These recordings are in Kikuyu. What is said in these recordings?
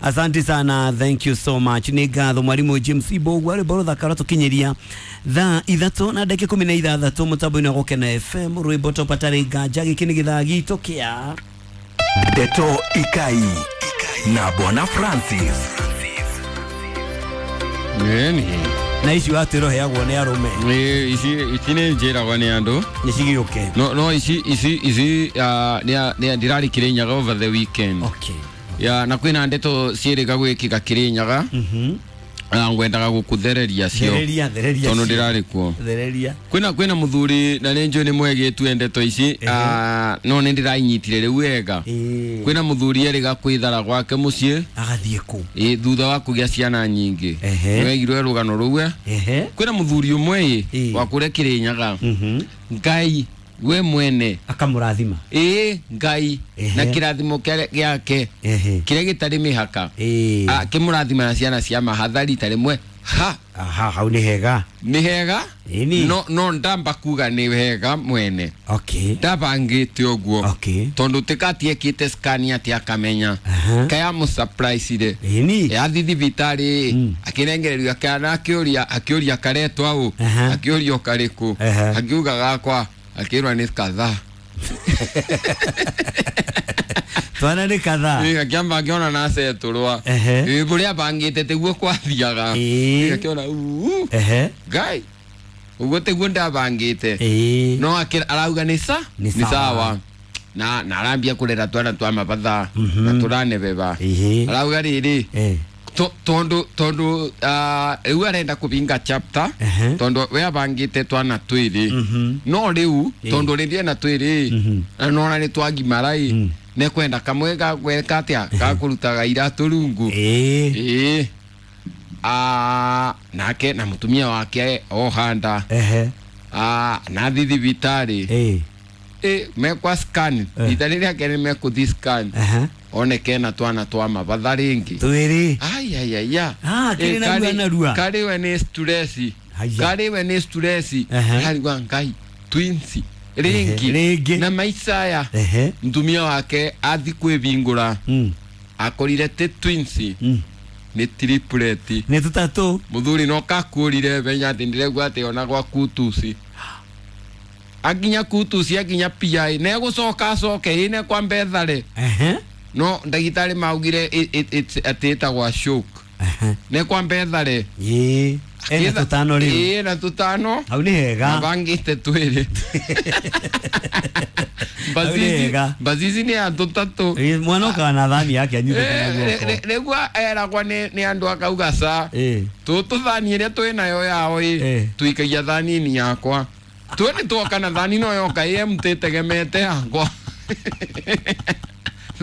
Asante sana, thank you so much. Nĩ ngatho mwarimu James Ibogu arĩ boro thakara tũkinyĩria thaa 3:16 mũtambo-inĩ wa Gũkena FM, rwĩmbo topatarĩ nganja. Gĩkĩ nĩ gĩthaa gitũ kĩa Ndeto Ikai na Bwana Francis. Nĩ na ici watwĩra ũheagwo nĩ arũme. Nĩ ici ici nĩ njĩragwo nĩ andũ. Nĩ cigĩũke. No ici ici ici nĩ ndĩrarĩ Kĩrĩnyaga over the weekend. Okay. Ya na kwĩna ndeto ciĩrĩga gwĩkĩka Kĩrĩnyaga. Ngwendaga gũkũthereria cio. Thereria, thereria. Tondũ cio. ndĩrarĩ kuo. Thereria. Kwĩna mũthuri na nĩ njũĩ nĩ mwegĩtue ndeto ici, no nĩ ndĩrainyitire rĩu wega. Kwĩna mũthuri erĩga kwĩthara gwake mũciĩ. Agathiĩ kũ? Ĩ, thutha wa kũgĩa ciana nyingĩ. Nĩwegirwe rũgano rũu e? Kwĩna mũthuri ũmwe ĩ wa kũrĩa Kĩrĩnyaga. Ngai we mwene akamũrathima. Ĩ, Ngai na kĩrathimo gĩake kĩrĩa gĩtarĩ mĩhaka. Akĩmũrathima na ciana cia mahathari ta rĩmwe. Ha. Aha, hau nĩ hega. Nĩ hega? Ĩni. No ndamba kuga nĩ hega mwene. Okay. Ndabangĩte ũguo. Okay. Tondũ tikatiekĩte scan atĩ akamenya. Kaya mũ surprise rĩ. Ĩni. Yathi thibitarĩ akĩnengererio kana akĩũria akĩũria karetwa ũ. Akĩũria karĩkũ. Akiuga gakwa akĩrwa nĩ kadhaa. Twana nĩ kadhaa. Ĩ, akĩamba akĩona na acetũrwa. Ĩ, kũrĩa abangĩte tiguo kwathiaga. Ĩ, akĩona uu. Ngai ũguo tiguo ndabangĩte. No arauga nĩ sa Nĩ sawa. Na arambia kũrera twana twa mabatha na tũranebeba. Arauga rĩrĩ tondu tondu rĩu arenda kũbinga chapter tondu we abangĩte twana twĩrĩ no rĩu tondu rĩrĩ ena twĩrĩ na nona nĩ twagimara ĩ nĩkwenda kamwe gagweka atĩa gakũrutaga iratũ rungu. Ĩĩ. Nake na mũtumia wake ohanda. Na thi thibitarĩ. Ĩ, mekwa scan ita rĩrĩa kerĩ mekũthi scan oneke na twana twa mabatha rĩngĩ. Twĩrĩ. Ai ai ai ya. Kĩrĩ na rua na rua. Karĩ we nĩ stress. Karĩ we nĩ stress. Arigwa Ngai twins rĩngĩ. Rĩngĩ. Na maica aya. Mũtumia wake athi kwĩbingũra. Akorire ti twins. Nĩ triplet. Nĩ tũtatũ. Mũthuri no kakũrire menya atĩ ndĩregua atĩ ona gwa kutusi. Akinya kutusi akinya PI negũcoka acoke ĩ nekwamba ethare. No ndagĩtarĩ maugire atĩ ĩtagwa shock. Nekwamba ethare. Ĩĩ. Ena tũtano rĩu. Ĩĩ, na tũtano. Hau nĩ hega. Mabangĩte twĩrĩ. Bazizi nĩ ya tũtatũ. Mwana okaga na thani yake anyitĩte na guoko. Rĩu eragwa nĩ andũ akauga ca. Tũtũ thani ĩrĩa twĩ nayo yao ĩ tuikagia thani-inĩ yakwa. Tuwe nĩ tuoka na thani no yoka ĩ empty ĩtegemete yakwa.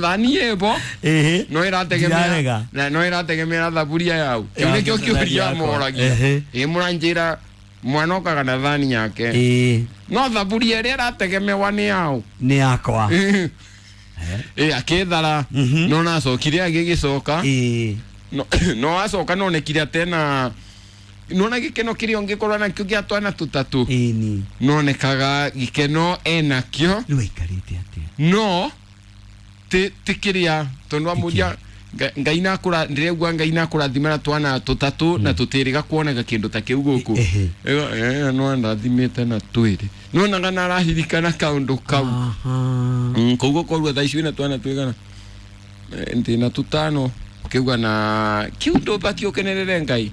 Thani ĩbo no ĩrategemea na no ĩrategemera thaburia yau. Kĩu nĩkĩo kĩũria moragia. Ĩ mũranjĩra mwana okaga na thani yake. No thaburia ĩrĩa ĩrategemewa nĩ yau. Nĩ yakwa. Ĩ akĩthara no nacokire agĩgĩcoka. No acoka nonekire atena nona gĩkeno kĩrĩa ũngĩkorwo nakĩo gĩa twana tũtatũ. Ĩni. Nonekaga gĩkeno enakĩo. Rĩu aikarĩte atĩa? No ti kĩrĩa tondũ amũria Ngai nakũra ndĩregua Ngai nakũrathima na twana tũtatũ na tũtĩrĩga kuoneka kĩndũ ta kĩu gũkũ. No andathimĩte na twĩrĩ. Nonaga na arahirikana kaũndũ kau. Koguo korwo thaa ici wĩna twana twĩgana ndĩna tũtano ũkĩuga na kĩu ndũbatiĩ ũkenerere Ngai.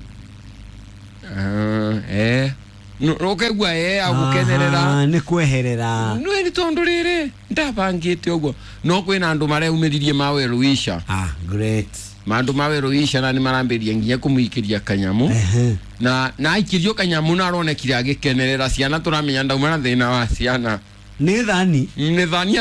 Ũkaigua agũkenerera. Nĩ kweherera. Nĩ nĩ tondũ rĩrĩ ndabangĩte ũguo. No kwĩna andũ mareumĩririe mawerũisha. Great. Mandũ mawerũisha na nĩ marambĩrĩria nginya kũmũikĩria kanyamũ. Na aikĩrio kanyamũ na aronekire agĩkenerera ciana tũramenya ndauma na thĩna wa ciana. Nĩ thani? Nĩ thani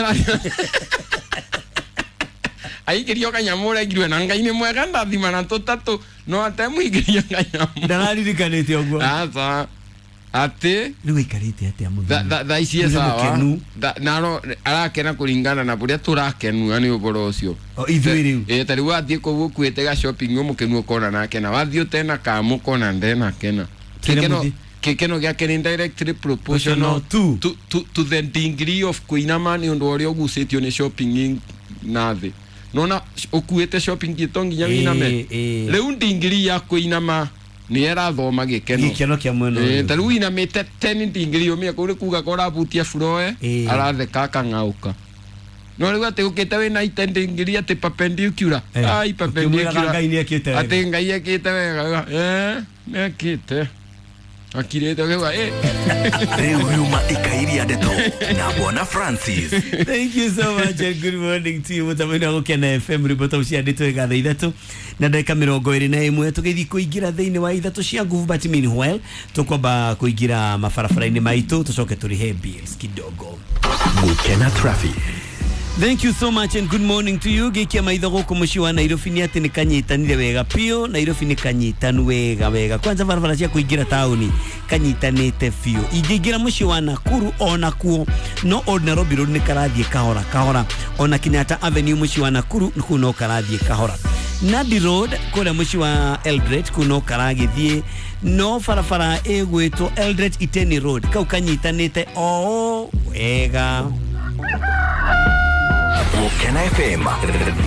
aikĩrio kanyamũ ũregirwe na Ngai nĩ mwega ndathima na tũtatũ no atemũikĩria kanyamũ. Ndararirikanĩte ũguo. Aca. Atĩ rĩu aikarĩte atĩa mũthuri? Thaa ici e sawa. Naro arakena kũringana na ũrĩa tũrakenua nĩ ũhoro ũcio. Ithuĩ rĩu. Ĩ ta rĩu wathiĩ kũu ũkuĩte ga shopping ũmũkenu ũkona nake na wathiĩ ũtena kamũ ũkona ndenakena. Kĩkeno gĩake nĩ directly proportional to the degree of kũinama nĩ ũndũ ũrĩa ũgucĩtio nĩ shopping na thĩ. Nona ũkuĩte shopping to nginya wĩiname. Ĩĩ. Rĩu ndingiri ya kũinama nĩ ĩrathoma gĩkeno. Gĩkeno kĩa mwena ũyũ. Ta rĩu inamĩte 10 ndingiri ũmia kũu nĩ kuga korabutia furoe Ĩĩ. aratheka akang'aũka. No rĩu atĩ ũkĩte wĩna ite ndingiri atĩ perpendicular. Ai Ũkĩmwĩraga perpendicular. Ngai nĩekĩte wega. Atĩ Ngai ekĩte wega. Nĩekĩte. Akirĩte ũkauga Rĩu yuma ikairia ndeto na Bwana Francis. Thank you so much and good morning to you. Mutamani wa Gũkena FM ribota ũciandĩtwo ĩgatha ithatũ na ndagĩka 21 tũgĩthiĩ kũingĩra thĩinĩ wa ithatũ cia nguvu, but meanwhile tũkwamba kũingĩra mabarabara-inĩ maitũ tũcoke tũrĩhe bills kidogo. Gũkena traffic. Thank you so much and good morning to you. Gĩkia maitho gũkũ mũciĩ wa Nairobi nĩ atĩ nĩ kanyitanire wega biũ. Nairobi nĩ kanyitanu wega wega. Kwanza barabara cia kũingĩra taũni kanyitanĩte biũ. Ingĩingĩra mũciĩ wa Nakuru ona kuo no Old Nairobi Road nĩ karathiĩ kahora kahora. Ona Kenyatta Avenue mũciĩ wa Nakuru kũu no karathiĩ kahora. Nandi Road kũrĩa mũciĩ wa Eldoret kũu no karagĩthiĩ, no barabara ĩgwĩtwo Eldoret Iteni Road kau kanyitanĩte o wega. Gũkena FM,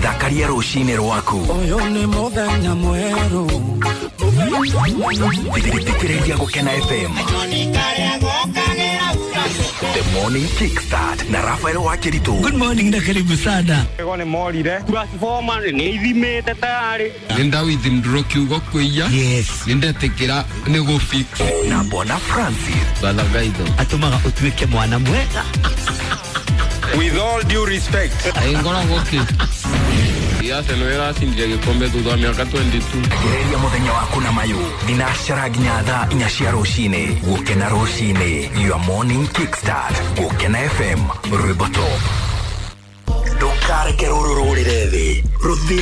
thakaria rũcinĩ rwaku. Ũyũ nĩ mũthenya mwerũ. Thikĩrĩria Gũkena FM. The Morning Kickstart na Rafael Wakiritu. Good morning na karibu sana. Ego nĩ morire transformer nĩ ithimĩte tayarĩ. Nĩ ndawithindũrwo kiugo kũiya. Yes. Nĩ ndetĩkĩra nĩ gũ fix. Na Bwana Francis. Thathagaitho. Atũmaga ũtuĩke mwana mwega. With all due respect. Ngoragwo kĩ Arsenal ĩracindire gĩkombe thutha wa mĩaka 22. Gereria mũthenya waku na mayũ thinacara nginya thaa 4 cia rũcinĩ. Gũkena rũcinĩ, your morning kickstart. Gũkena FM, rwĩmbo top. Ndũkareke rũrũ rũrĩre thĩ, rũthiĩ.